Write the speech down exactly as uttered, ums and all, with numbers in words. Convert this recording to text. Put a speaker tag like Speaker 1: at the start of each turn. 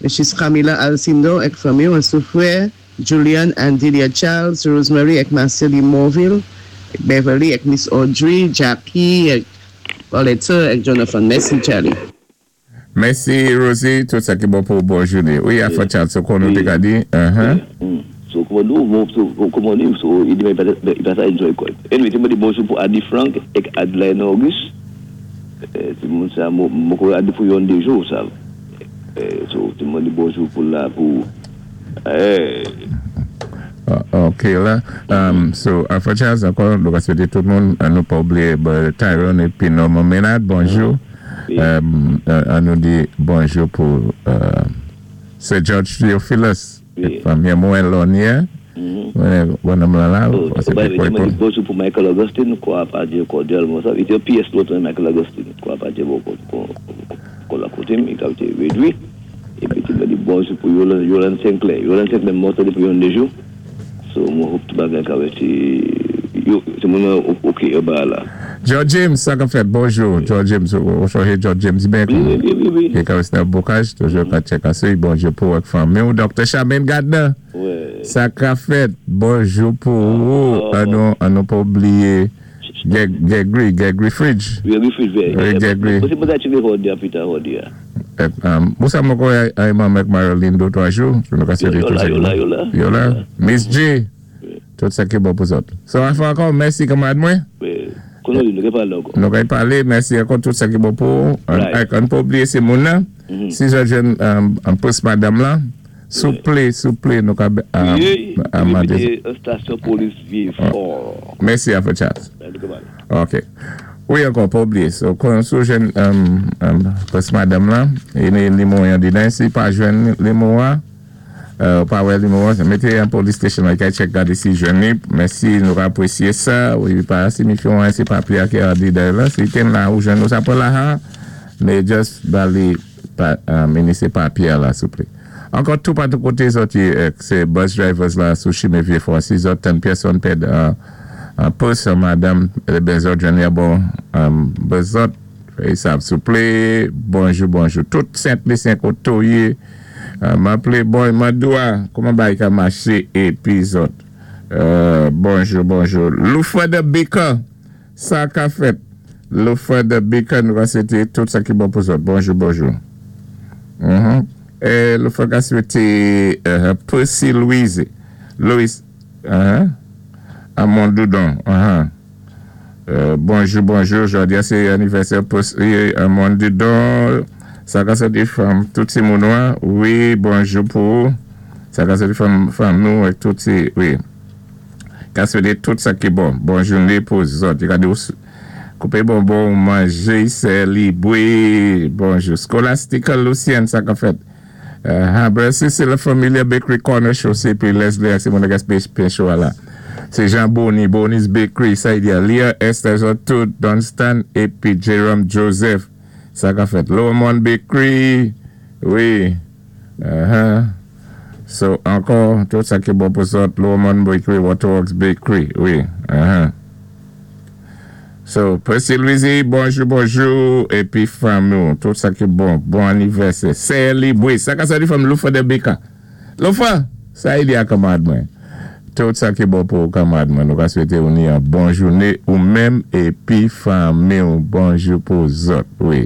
Speaker 1: Missus Camila Alcindo èk fanmi, sou frè Julian and Delia Charles, Rosemary èk Marcelly Morville, èk Beverly èk Miss Audrey, Jackie èk Paulette èk Jonathan. Mèsi, Charlie.
Speaker 2: Mèsi, Rosie, tout sa ki bon pou bon jouné. Wi, Alpha Charles, so kon nou té ka di? Uh-huh.
Speaker 3: Mm. So, kouman nou, so, kouman nou, so, i di i pa sa enjoy kòy. Anyway, té mwen di bonjou pou Adi Frank èk Adeline Auguste. Eh, ti moun sa, mwen kon Adi pou yon de jou, sa. Eh, so, té mwen di bonjou pou la, pou, eh,
Speaker 2: Uh, ok la. Um, so, Alpha Charles, ankò, nou ka swété tout moun, an nou pa oubliyé Tyrone épi Norman Maynard, bonjou.
Speaker 3: Wi.
Speaker 2: Um, uh, an nou di bonjou pou uh, Sir George Theophilus,
Speaker 3: Wi.
Speaker 2: fanmi mwen Lonier.
Speaker 3: Mhm.
Speaker 2: Mwen bon la la.
Speaker 3: So,
Speaker 2: c'est
Speaker 3: ba,
Speaker 2: quoi
Speaker 3: té mwen di bonjou pou Michael Augustine, kwa pa di kòdyalman sa. I té P S lòt Michael Augustine, kwa pa di bon, kon, kon la koté, i ka té rédwi. Épi té mwen di bonjou pou Yolande, Yolande Sinclair. Yolande Sinclair mwen tandé pou yon dé jou. So, mwen hope tout bagay ka wè ti, yo, ti moun ok, yo ba la.
Speaker 2: George James, sa ka fèt, bonjou. George James, ou chòhé George James, ben
Speaker 3: Wi, wi, wi, wi, wi.
Speaker 2: Ki ka wè nan Bocage, toujou ka check asé, bonjou pou wèk fanmi ou. Docteur Charmaine Gardner,
Speaker 3: Wè.
Speaker 2: sa ka fèt, bonjou pou ou.
Speaker 3: Oh.
Speaker 2: An nou, an nou pa oubliyé Gregory, Gregory Fridge.
Speaker 3: Wi, wi, Fridge, wi.
Speaker 2: Wi, Gregory.
Speaker 3: Mwen se mwen ta cheke hodi a, pita hodi a.
Speaker 2: Mwen sa mwen kon ay man mek Marilyn do twa jou. Nou ka swété
Speaker 3: Yo
Speaker 2: tout
Speaker 3: la,
Speaker 2: sa ki
Speaker 3: yo la,
Speaker 2: bon.
Speaker 3: Yo la.
Speaker 2: Yo la. Miss J, tout sa ki bon pou zòt. So, ankò ankò, mèsi kanmarad mwen.
Speaker 3: Wi, konon di, nou ke palé ankò.
Speaker 2: Nou kay palé, mèsi ankò, tout sa ki bon pou.
Speaker 3: Right.
Speaker 2: An pa oubliyé sé moun nan.
Speaker 3: Mhm.
Speaker 2: Si jò jwenn an pòs madam la, souplé, souplé, nou ka
Speaker 3: Wi,
Speaker 2: amandé.
Speaker 3: wi, stasyon polis Vieux-Fort.
Speaker 2: Mèsi, Alpha Charles.
Speaker 3: Nou ke palé.
Speaker 2: Ok. Wi, ankò, pa oubliyé. So, kon sou jwenn um, um, pòs madam la, e ni nimewo yan di den, si pa jwenn nimewo a, euh, pa wè nimewo a, mété an police station la, kay check gade si jwenn ni. Mèsi, nou ka apwésyé sa. Wi, pa signifyon an, sé papyé a ki a di den la. Si ten la ou jwenn nou sa pou la ha, mais just ba li pa, um, inisé papyé la, souplé. Ankò tout patou koté zòt yé, sé bus drivers la sou chimen Vieux-Fort. Si zòt tann pèsonn pèd uh, an pòs madam, ben zòt jwenn ya bon, um, bus zòt, fè sa, souplé, bonjou, bonjou. Tout Sent-Lisyen koté ou yé, uh, m'aplé, bon, m'adoua, kouman bay ka maché épi zòt. Uh, bonjou, bonjou. Loufa de Baker, sa ka fèt. Loufa de Baker, nou va swété tout sa ki bon pou zòt. Bonjou, bonjou. Mm-hmm. E Loufa ka swété uh, Percy Louise. Louis, uh-huh. Amon Doudon, uh-huh. Euh, bonjou, bonjou, jòdi a sé anivèsè Percy Amon Doudon. Sa ka swété fanm, tout ti moun an. Wi, bonjou pou ou. Sa ka swété fanm, fanm nou èk tout ti, wi. Ka swété tout sa ki bon. Bon jouné pou zòt. Gade ou koupé bonbon, manjé, sélibwé. Bonjou. Scholastica Lucien, sa ka fèt. Uh, c'est la Familia Bakery Corner Show, c'est puis Leslie, c'est mon gars pen show là. C'est Jean Bonny, Bonny's Bakery, ça y dit, Léa Esther, tout, Dunstan, épi Jerome Joseph, sa ka fèt. Lomond Bakery, wi. Uh-huh. So, ankò, tout sa ki bon pou zòt, Lomond Bakery, Waterworks Bakery, wi. Uh-huh. So, Percy Louise, bonjou, bonjou, épi fanmi, tout sa ki bon, bon anivèsè. Sélibwé, sa ka sa di fanm Loufa de Beka. Loufa, sa y di a kanmarad mwen. Tout sa ki bon pou kanmarad mwen, nou ka swété ou ni an bon jouné ou menm épi fanmi, bonjou pou zòt, wi.